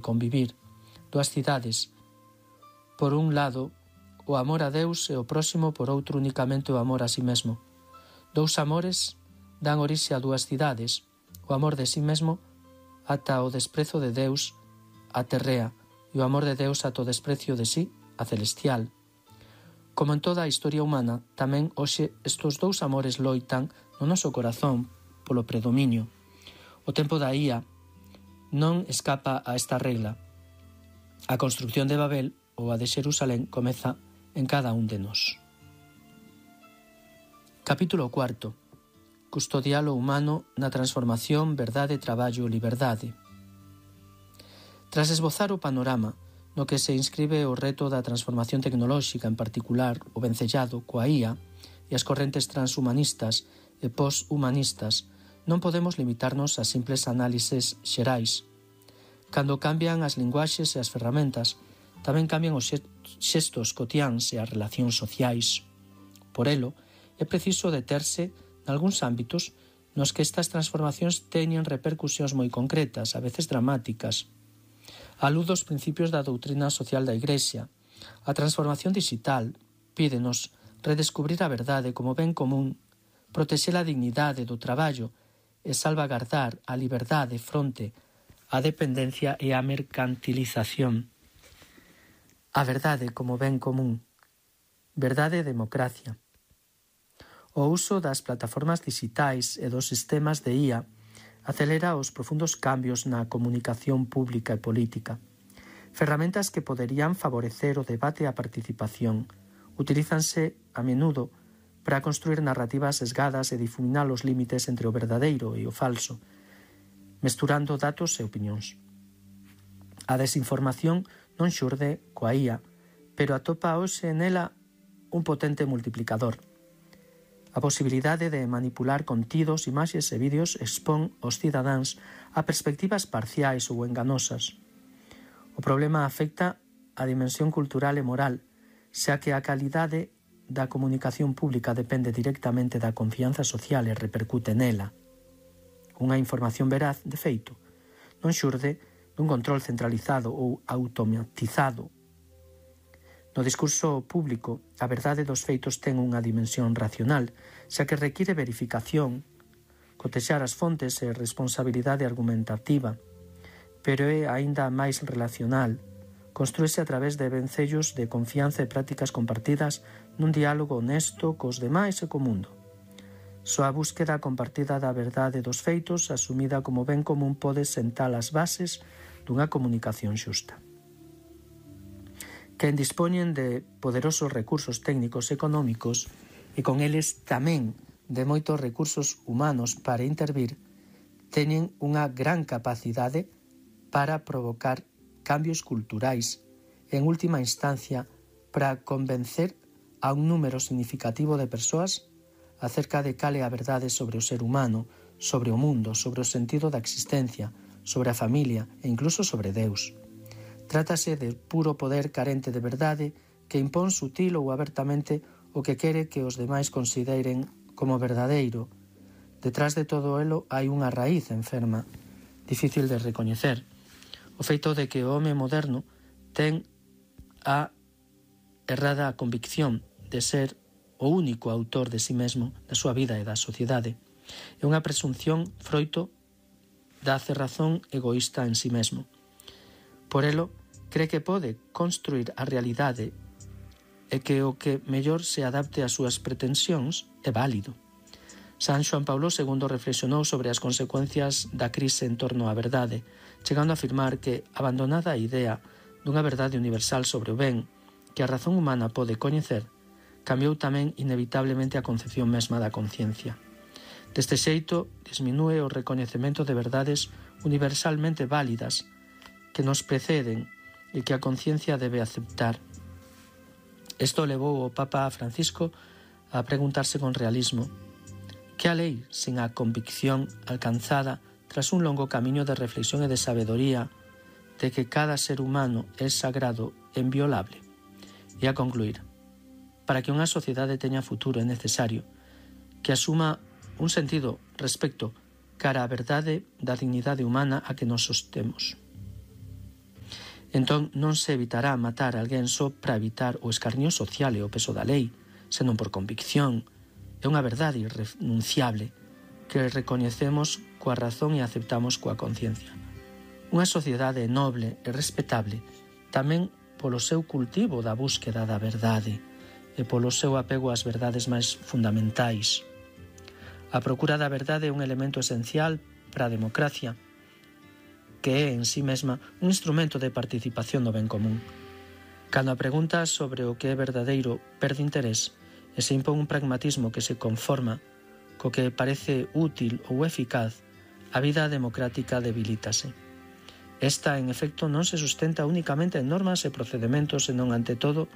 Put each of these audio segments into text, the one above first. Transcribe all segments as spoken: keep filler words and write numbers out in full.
convivir, dúas cidades, por un lado, o amor a Deus e o próximo, por outro, unicamente o amor a si mesmo. Dous amores dan orixe a dúas cidades, o amor de si mesmo ata o desprezo de Deus, a terrea, e o amor de Deus ata o desprecio de si, a celestial. Como en toda a historia humana, tamén hoxe estes dous amores loitan no noso corazón polo predominio. O tempo da ía non escapa a esta regla. A construcción de Babel ou a de Xerusalén comeza en cada un de nós. Capítulo cuarto. Custodiar o humano na transformación verdade, traballo, liberdade. Tras esbozar o panorama no que se inscribe o reto da transformación tecnolóxica, en particular o vencellado coa ía e as correntes transhumanistas e poshumanistas, non podemos limitarnos a simples análises xerais. Cando cambian as linguaxes e as ferramentas, tamén cambian os xestos cotiáns e as relacións sociais. Por elo, é preciso deterse nalgúns ámbitos nos que estas transformacións teñen repercusións moi concretas, a veces dramáticas. A luz dos principios da doutrina social da Igrexa, a transformación digital pídenos redescubrir a verdade como ben común, protexer a dignidade do traballo e salvagardar a liberdade fronte á dependencia e á mercantilización. A verdade como ben común, verdade e democracia. O uso das plataformas digitais e dos sistemas de ía acelera os profundos cambios na comunicación pública e política. Ferramentas que poderían favorecer o debate e a participación utilízanse a menudo para construir narrativas sesgadas e difuminar os límites entre o verdadeiro e o falso, mesturando datos e opinións. A desinformación non xurde coa ía, pero atopa hoxe nela un potente multiplicador. A posibilidade de manipular contidos, imaxes e vídeos expón os cidadáns a perspectivas parciais ou enganosas. O problema afecta a dimensión cultural e moral, xa que a calidade da comunicación pública depende directamente da confianza social e repercute nela. Unha información veraz, de feito, non xurde dun control centralizado ou automatizado. No discurso público, a verdade dos feitos ten unha dimensión racional, xa que require verificación, cotexar as fontes e responsabilidade argumentativa, pero é aínda máis relacional, construíse a través de vencellos de confianza e prácticas compartidas nun diálogo honesto cos demais e co mundo. Só a búsqueda compartida da verdade dos feitos, asumida como ben común, pode sentar as bases dunha comunicación xusta. Quen dispoñen de poderosos recursos técnicos e económicos e con eles tamén de moitos recursos humanos para intervir, teñen unha gran capacidade para provocar cambios culturais e, en última instancia, para convencer a un número significativo de persoas acerca de cal é a verdade sobre o ser humano, sobre o mundo, sobre o sentido da existencia, sobre a familia e incluso sobre Deus. Trátase de puro poder carente de verdade que impón sutil ou abertamente o que quere que os demais consideren como verdadeiro. Detrás de todo elo hai unha raíz enferma, difícil de recoñecer. O feito de que o home moderno ten a errada convicción de ser o único autor de si mesmo, da súa vida e da sociedade. É unha presunción froito da cerrazón egoísta en si mesmo. Por elo, cree que pode construir a realidade e que o que mellor se adapte ás súas pretensións é válido. San Xoán Paulo segundo reflexionou sobre as consecuencias da crise en torno á verdade, chegando a afirmar que, abandonada a idea dunha verdade universal sobre o ben que a razón humana pode coñecer, cambiou tamén inevitablemente a concepción mesma da conciencia. Deste xeito, disminúe o recoñecemento de verdades universalmente válidas que nos preceden e que a conciencia debe aceptar. Isto levou o Papa Francisco a preguntarse con realismo: que a lei sen a convicción alcanzada tras un longo camiño de reflexión e de sabedoría de que cada ser humano é sagrado e inviolable? E a concluir: para que unha sociedade teña futuro é necesario que asuma un sentido respecto cara á verdade da dignidade humana a que nos sostemos. Entón non se evitará matar a alguén só para evitar o escarnio social e o peso da lei, senón por convicción. É unha verdade irrenunciable que recoñecemos coa razón e aceptamos coa conciencia. Unha sociedade noble e respetable tamén polo seu cultivo da búsqueda da verdade e polo seu apego ás verdades máis fundamentais. A procura da verdade é un elemento esencial para a democracia, que é en sí mesma un instrumento de participación no ben común. Cando a pregunta sobre o que é verdadeiro perde interés e se impón un pragmatismo que se conforma co que parece útil ou eficaz, a vida democrática debilítase. Esta, en efecto, non se sustenta únicamente en normas e procedementos, senón, ante todo,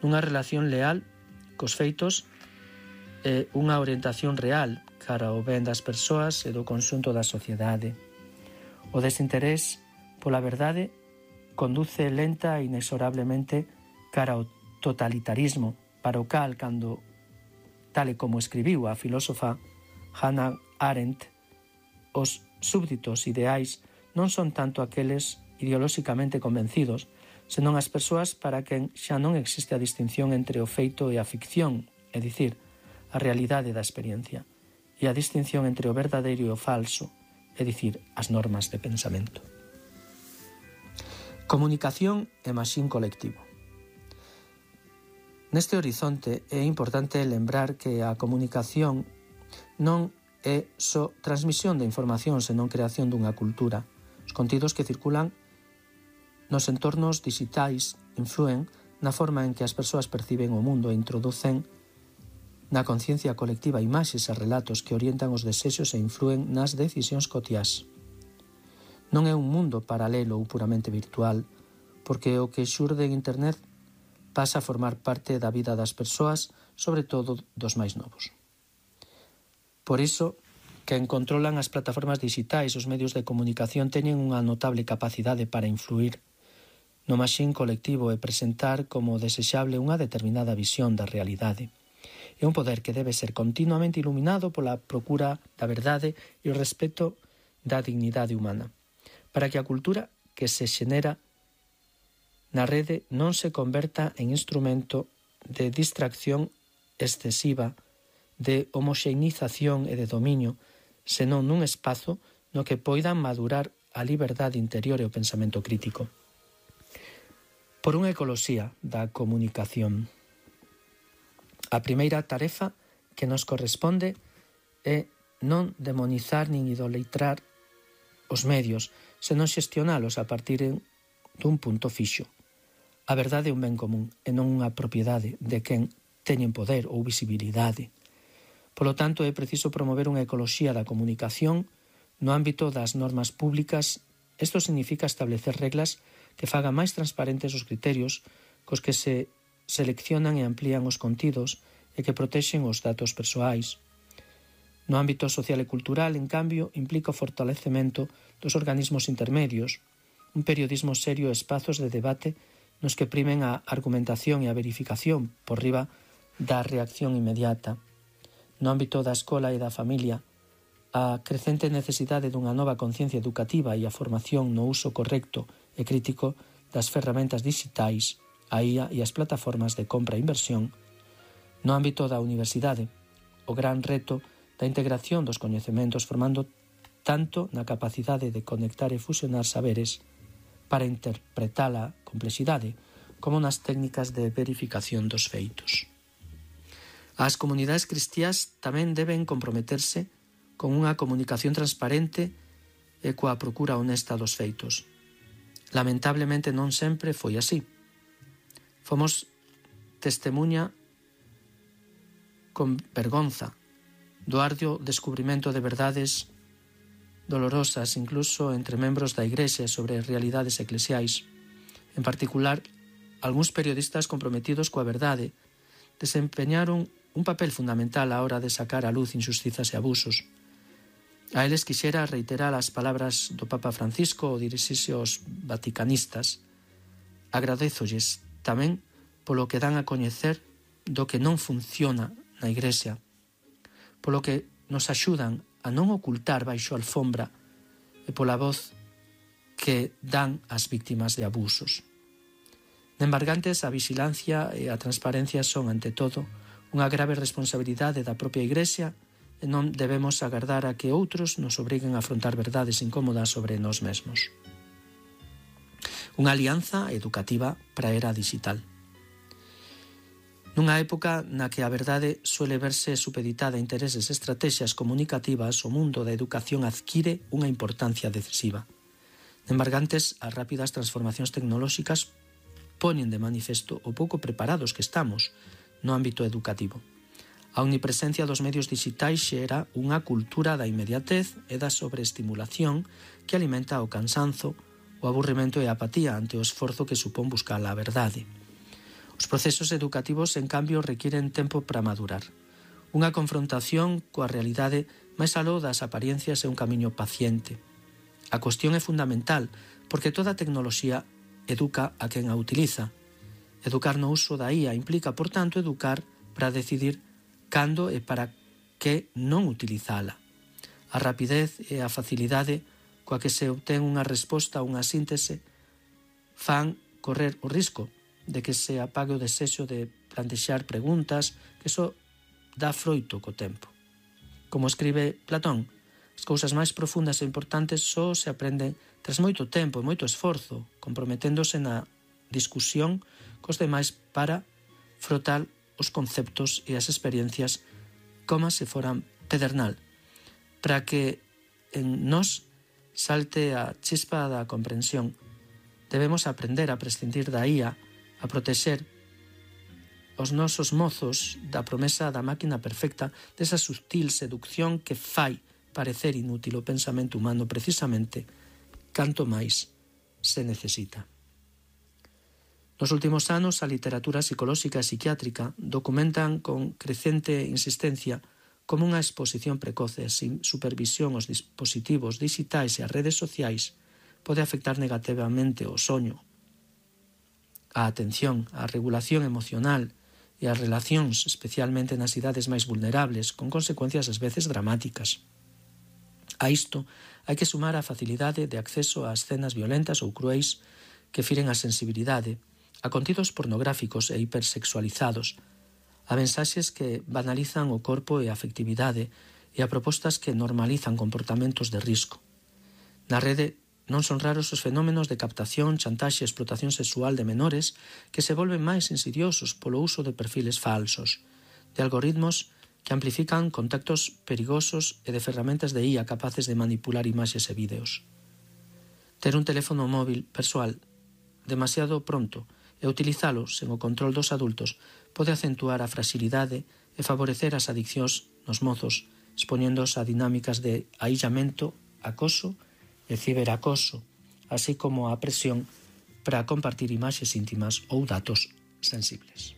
nunha relación leal cos feitos e unha orientación real cara ao ben das persoas e do conxunto da sociedade. O desinterés pola verdade conduce lenta e inexorablemente cara ao totalitarismo, para o cal, cando, tal e como escribiu a filósofa Hannah Arendt, os súbditos ideais non son tanto aqueles ideolóxicamente convencidos, senón as persoas para quen xa non existe a distinción entre o feito e a ficción, é dicir, a realidade da experiencia, e a distinción entre o verdadeiro e o falso, é dicir, as normas de pensamento. Comunicación e machín colectivo. Neste horizonte é importante lembrar que a comunicación non é só transmisión de información, senón creación dunha cultura. Os contidos que circulan nos entornos digitais influen na forma en que as persoas perciben o mundo e introducen na conciencia colectiva imaxes e relatos que orientan os desexos e influen nas decisións cotiás. Non é un mundo paralelo ou puramente virtual, porque o que xurde en Internet pasa a formar parte da vida das persoas, sobre todo dos máis novos. Por iso, quen controlan as plataformas digitais, os medios de comunicación teñen unha notable capacidade para influir no machín colectivo e presentar como desexable unha determinada visión da realidade. É un poder que debe ser continuamente iluminado pola procura da verdade e o respeto da dignidade humana, para que a cultura que se xenera na rede non se converta en instrumento de distracción excesiva, de homoxeinización e de dominio, senón nun espazo no que poidan madurar a liberdade interior e o pensamento crítico. Por unha ecoloxía da comunicación. A primeira tarefa que nos corresponde é non demonizar nin idolatrar os medios, senón xestionalos a partir dun punto fixo. A verdade é un ben común e non unha propiedade de quen teñen poder ou visibilidade. Polo tanto, é preciso promover unha ecoloxía da comunicación no ámbito das normas públicas. Isto significa establecer reglas que fagan máis transparentes os criterios cos que se seleccionan e amplían os contidos e que protexen os datos persoais. No ámbito social e cultural, en cambio, implica o fortalecemento dos organismos intermedios, un periodismo serio e espazos de debate nos que primen a argumentación e a verificación por riba da reacción inmediata. No ámbito da escola e da familia, a crecente necesidade dunha nova conciencia educativa e a formación no uso correcto e crítico das ferramentas digitais, a I A e as plataformas de compra e inversión. No ámbito da universidade, o gran reto da integración dos coñecementos formando tanto na capacidade de conectar e fusionar saberes para interpretar a complexidade como nas técnicas de verificación dos feitos. As comunidades cristiás tamén deben comprometerse con unha comunicación transparente e coa procura honesta dos feitos. Lamentablemente non sempre foi así. Fomos testemunha con vergonza do arduo descubrimento de verdades dolorosas, incluso entre membros da Igrexa sobre realidades eclesiais. En particular, algúns periodistas comprometidos coa verdade desempeñaron un papel fundamental á hora de sacar á luz injustizas e abusos. A eles quixera reiterar as palabras do Papa Francisco ao dirixirse aos vaticanistas. Agradézolles tamén polo que dan a coñecer do que non funciona na Igrexa, polo que nos axudan a non ocultar baixo a alfombra e pola voz que dan ás víctimas de abusos. De embargantes, a vixilancia e a transparencia son, ante todo, unha grave responsabilidade da propia Igrexa e non debemos agardar a que outros nos obriguen a afrontar verdades incómodas sobre nós mesmos. Unha alianza educativa para a era digital. Nunha época na que a verdade suele verse supeditada a intereses e estrategias comunicativas, o mundo da educación adquire unha importancia decisiva. De embargantes, as rápidas transformacións tecnolóxicas poñen de manifesto o pouco preparados que estamos no ámbito educativo. A omnipresencia dos medios digitais xera unha cultura da inmediatez e da sobreestimulación que alimenta o cansanzo, o aburrimento e a apatía ante o esforzo que supón buscar a verdade. Os procesos educativos, en cambio, requiren tempo para madurar. Unha confrontación coa realidade máis aló das apariencias é un camiño paciente. A cuestión é fundamental porque toda tecnoloxía educa a quen a utiliza. Educar no uso da I A implica, por tanto, educar para decidir cando e para que non utilizala. A rapidez e a facilidade coa que se obtén unha resposta a unha síntese fan correr o risco de que se apague o desexo de plantexar preguntas que só dá froito co tempo. Como escribe Platón, as cousas máis profundas e importantes só se aprenden tras moito tempo e moito esforzo, comprometéndose na discusión cos demais para frotar os conceptos e as experiencias como se foran pedernal, para que en nós salte a chispa da comprensión. Debemos aprender a prescindir da I A, a protexer os nosos mozos da promesa da máquina perfecta, desa sutil seducción que fai parecer inútil o pensamento humano precisamente canto máis se necesita. Nos últimos anos, a literatura psicolóxica e psiquiátrica documentan con crecente insistencia como unha exposición precoce sin supervisión aos dispositivos digitais e as redes sociais pode afectar negativamente o soño, a atención, a regulación emocional e as relacións, especialmente nas idades máis vulnerables, con consecuencias ás veces dramáticas. A isto hai que sumar a facilidade de acceso a escenas violentas ou cruéis que firen a sensibilidade, a contidos pornográficos e hipersexualizados, a mensaxes que banalizan o corpo e a afectividade e a propostas que normalizan comportamentos de risco. Na rede non son raros os fenómenos de captación, chantaxe e explotación sexual de menores que se volven máis insidiosos polo uso de perfiles falsos, de algoritmos que amplifican contactos perigosos e de ferramentas de I A capaces de manipular imaxes e vídeos. Ter un teléfono móvil persoal demasiado pronto e utilizalo sen o control dos adultos pode acentuar a fragilidade e favorecer as adiccións nos mozos, expoñéndose a dinámicas de aillamento, acoso e ciberacoso, así como a presión para compartir imaxes íntimas ou datos sensibles.